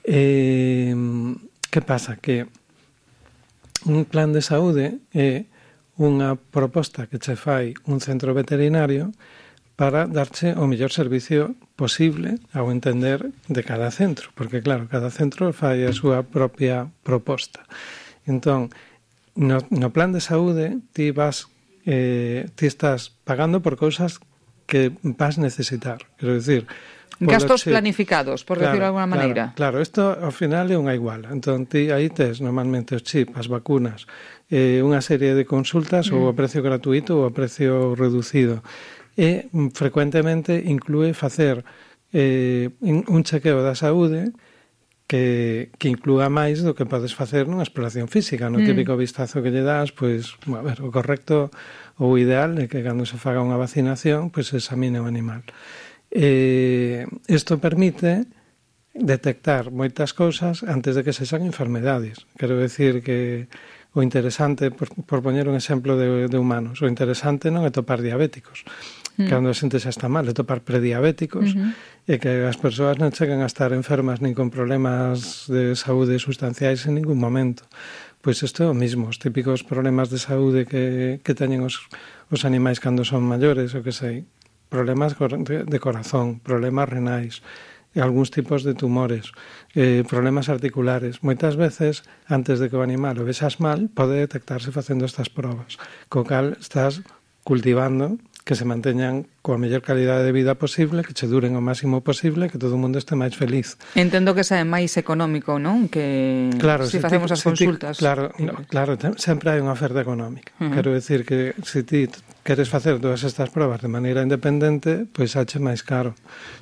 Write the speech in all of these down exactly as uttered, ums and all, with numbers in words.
Eh, que pasa? Que un plan de saúde é unha proposta que che fai un centro veterinario para darche o mellor servicio posible ao entender de cada centro, porque claro, cada centro fai a súa propia proposta. Entón, no, no plan de saúde ti vas eh, ti estás pagando por cousas que vas necesitar, quero dicir, gastos chip, planificados, por claro, decirlo de alguna maneira. Claro, claro, isto ao final é unha iguala. Entón, ti aí tes normalmente os chip, as vacunas, eh, unha serie de consultas mm. ou a precio gratuito ou a precio reducido. E frecuentemente inclúe facer eh, un chequeo da saúde que, que inclúa máis do que podes facer nunha exploración física. No mm. típico vistazo que lle das, pois, a ver, o correcto ou o ideal é que cando se faga unha vacinación, pois se examine o animal. Eh, isto permite detectar moitas cousas antes de que sexan enfermedades. Quero decir que o interesante, por, por poñer un exemplo de, de humanos, o interesante non é topar diabéticos, mm. cando a xente xa está mal, é topar prediabéticos, uh-huh. e que as persoas non chegan a estar enfermas nin con problemas de saúde sustanciais en ningún momento. Pois isto é o mismo, os típicos problemas de saúde que, que teñen os, os animais cando son maiores, o que sei, problemas de corazón, problemas renais, algúns tipos de tumores, eh, problemas articulares. Moitas veces, antes de que o animal o vexas mal, pode detectarse facendo estas probas, co cal estás cultivando que se manteñan coa mellor calidade de vida posible, que che duren o máximo posible, que todo o mundo este máis feliz. Entendo que sae máis económico, non? Que claro, se si facemos ti, as consultas. Ti, claro, no, claro, sempre hai unha oferta económica. Uh-huh. Quero decir que se ti queres facer todas estas probas de maneira independente, pois hache máis caro.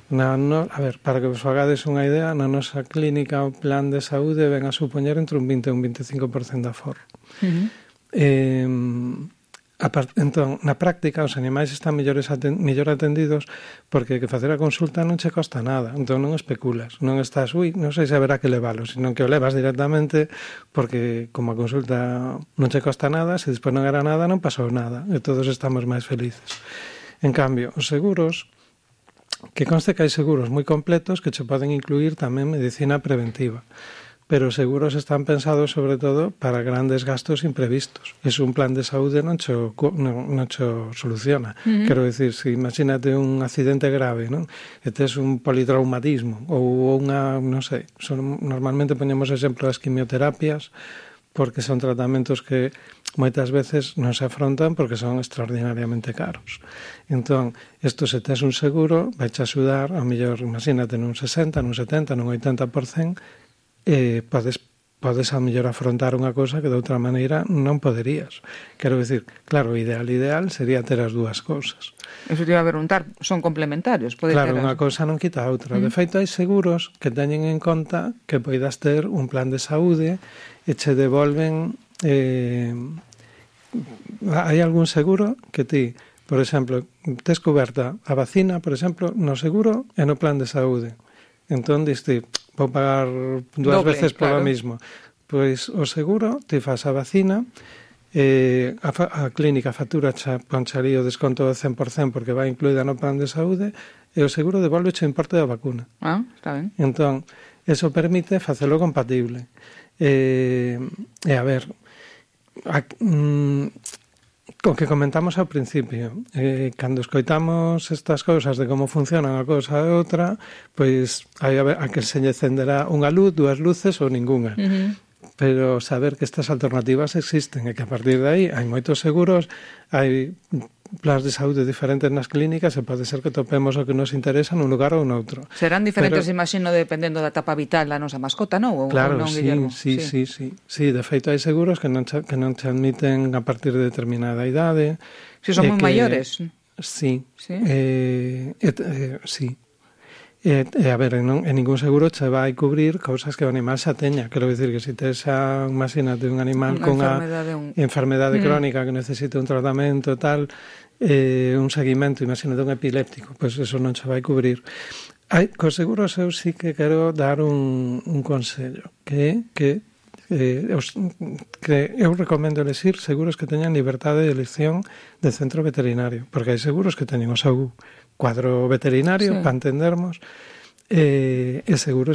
Na, no, a ver, para que vos fagades unha idea, na nosa clínica o plan de saúde ven a supoñer entre un vinte e un vinte e cinco por cento de aforro. Uh-huh. Eh, Apart, entón, na práctica, os animais están mellores aten, mellor atendidos porque que facer a consulta non che costa nada. Entón non especulas, non estás, ui, non sei se haberá que leválo, sino que o levas directamente porque como a consulta non che costa nada, se despois non era nada, non pasou nada e todos estamos máis felices. En cambio, os seguros, que conste que hai seguros moi completos que che poden incluir tamén medicina preventiva, pero os seguros están pensados sobre todo para grandes gastos imprevistos. Es un plan de saúde non cho, non, non cho soluciona. Uh-huh. Quero dicir, se imagínate un accidente grave, non? E tes un politraumatismo ou unha, non sei, son, normalmente poñemos exemplo das quimioterapias porque son tratamentos que moitas veces non se afrontan porque son extraordinariamente caros. Entón, isto se tes un seguro, vai te axudar, ao mellor, imagínate, nun sesenta, nun setenta, nun oitenta por cento, eh, podes, podes a mellor afrontar unha cosa que de outra maneira non poderías. Quero dicir, claro, o ideal ideal sería ter as dúas cousas. Eso te iba a preguntar, son complementarios? Pode claro, ter unha cousa non quita a outra. Mm. De feito, hai seguros que teñen en conta que poidas ter un plan de saúde e che devolven... Eh, hai algún seguro que ti, por exemplo, tes coberta a vacina, por exemplo, no seguro e no plan de saúde. Entón, diste... vou pagar dúas Doble, veces polo claro. mismo. Pois o seguro, te faz a vacina, eh, a, fa, a clínica factura xa poncharía o desconto do cen por cento porque vai incluída no plan de saúde e o seguro devolve o importe da vacuna. Ah, está ben. Entón, eso permite facelo compatible. Eh, e a ver, a, mm, o que comentamos ao principio, eh, cando escoitamos estas cousas de como funciona unha cousa e outra, pois hai a, ver, a que se lle encenderá unha luz, dúas luces ou ningunha. Uh-huh. Pero saber que estas alternativas existen e que a partir de aí hai moitos seguros, hai plans de saúde diferentes nas clínicas e pode ser que topemos o que nos interesa nun lugar ou noutro. Serán diferentes, Pero, imagino, dependendo da etapa vital da nosa mascota, non? Ou, claro, ou non, sí, Guillermo? sí, sí, sí, sí. De feito, hai seguros que non, que non te admiten a partir de determinada idade. Si son moi que, maiores. Sí. Sí? Eh, eh, eh, sí. E, e a ver, en, en ningún seguro che vai cubrir cousas que o animal xa teña. Quero dicir que se tes a, imagínate, un animal con unha un... enfermedade mm. crónica que necesita un tratamento tal, eh, un seguimento, imagínate, un epiléptico, pois pues eso non che vai cubrir. Hai, cos seguros eu sí que quero dar un, un consello, que que eh, os, que eu recomendo elegir seguros que teñan libertade de elección de centro veterinario, porque hai seguros que teñen o seu cuadro veterinario, sí, para entendermos, eh, e seguros